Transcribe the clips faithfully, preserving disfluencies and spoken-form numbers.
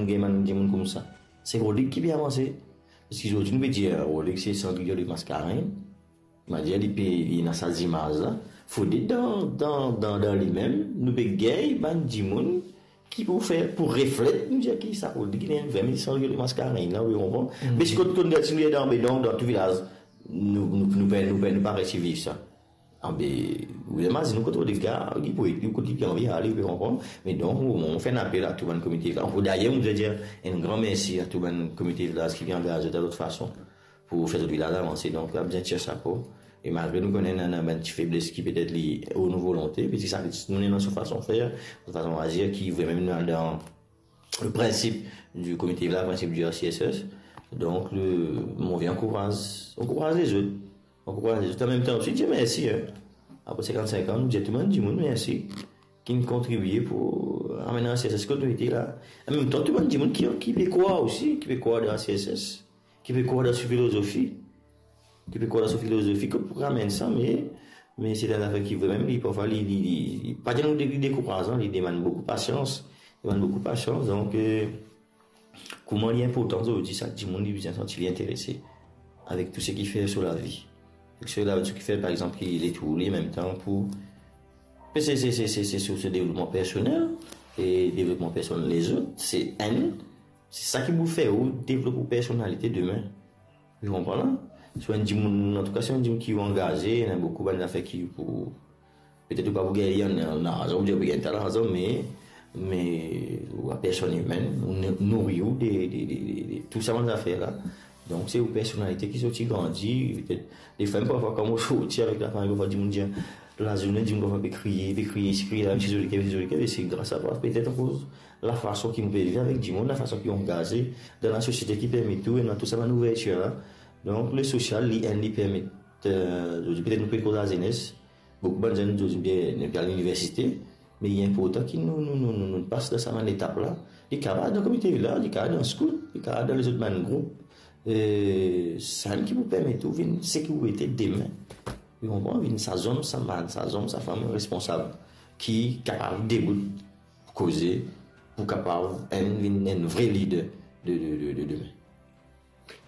Gagn bann dimoun koumsa. Se Rodrig ki pe avanse. Parski zordi nou pe dir Rodrig se Cendrillon de Mascarenhas. Mwa dir li pe, li ena sa zimaz la. Fode dan, dan, dan, dan limem, nou pe gagn bann dimoun ki pou fer, pou reflet, nou dir ki sa Rodrig, li vremem Cendrillon de Mascarenhas la, ou konpran? Mm. Me si kot konn gete, si nou dan, dan, dan tou vilaz, nou, nou, nou, nou, nou, nou pa resi viv sa. Abe, ou imazinn kot Rodrig, li pou, li kot li anvi ale, ou konpran? Me donk, nou, nou fer enn apel a tou bann komite la. Dayer, nou dir enn gran mersi a tou bann komite la ki vinn angaz dan lot fason pou fer zot vilaz avanse. Donk, la bizin tir sapo. E malgre nou kone ena, ena bann ti febles ki petet li o nou volonte, me se sa, nou ena so fason fer, so fason azir ki vremem al dan le principe du comité là, le principe du R C S S. Donc, le, mo anvi ankouraz, ankouraz lezot. Ankouraz lezot. An mem tan osi, dir mersi, hein. Apre cinquante-cinq ans, nou dir tou bann dimoun mersi ki finn kontribie pou amenn R C S S kot nou ete la. An mem tan, tou bann dimoun ki, ki pe krwar osi, ki pe krwar dan R C S S, ki pe krwar dan so filozofi, ki pe krwar dan so filozofi, ki pou ramenn sa, me, me se enn zafer ki vremem, li, parfwa, li, li, li, li pa dir nou de-, li dekourazan, li demann boukou pasians, demann boukou pasians. Donk, eh, kouma li inportan zordi, sak dimoun li bizin santi li interese avek tou seki fer so lavi. Avek so lavi, seki fer, par exanp, ki letour li, an mem tan pou, se, se, se, se, se sou so devlopman personel e devlopman personel lezot, se enn, se sa ki pou fer ou devlop ou personalite demin. Ou konpran la? Si ou enn dimoun, antouka, si ou enn dimoun ki ou angaze, ena boukou bann zafer ki pou, petet ou pa pou gagn li an, an larzan, ou dir ou pou gagn ta larzan, me, me ou la personn imenn, ou nou-, nouri ou de, de, de, de, de tou sa bann zafer la. Donk, se ou personalite ki sorti grandi, petet, defwa, parfwa, kan mo sorti avek lafami, parfwa, dimoun dir, lazourne, dimoun parfwa pe kriye, pe kriye, isi kriye la, mem si zoli ker, mem si zoli ker, e se gras a twa, petet akoz lafason ki nou pe viv avek dimoun, lafason ki nou angaze dan lasosiete ki permet tou, ena tou sa bann ouvertir la. Donk, le sosial, li, enn, li permet, eh, zordi, petet nou pe koz lazenes, boukou bann zenn zordi, bien, nou pe al liniversite, me li inportan ki nou, nou, nou, nou, nou pas dan sa bann etap la. Li kapav dan komite la, li kapav dan skout, li kapav dan lezot bann group. Eh, sa enn ki pou permet ou vinn seki ou ete demin. Ou konpran? Vinn sa zom, sa bann, sa zom, sa fanm responsab ki kapav debout pou koze, pou kapav enn vinn enn vre lider de, de, de, de demin.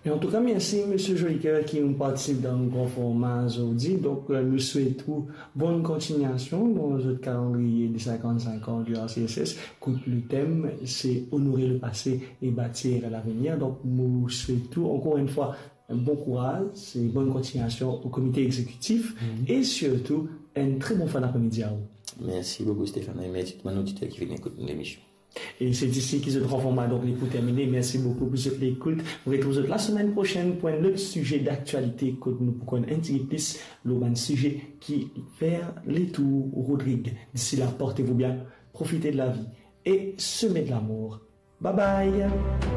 E antouka, mersi, Misie Jolicoeur, ki finn partisip dan nou gran forma zordi. Donk, eh, nou swet ou bonn kontinyasyon dan zot kalandriye de cinquante-cinq ans du R C S S. Kot le tem, se Honorer le passé et bâtir l'avenir. Donk, nou swet ou, ankor enn fwa, bon kouraz e bonn kontinyasyon o komite egzekitif e sirtou enn tre bon fin dapremidi a ou. Mersi boukou, Stéphane, e mersi tou bann oditer ki finn ekout lemision. E se isi ki zot gran forma, donk, li pou termine. Mersi boukou pou zot lekout. Nou retrouv zot lasemenn prosenn pou enn lot size daktialite kot nou pou konn enn tigit plis lor bann size ki fer letour Rodrig. D'ici là, portez-vous bien, profitez de la vie et semez de l'amour. Bye bye.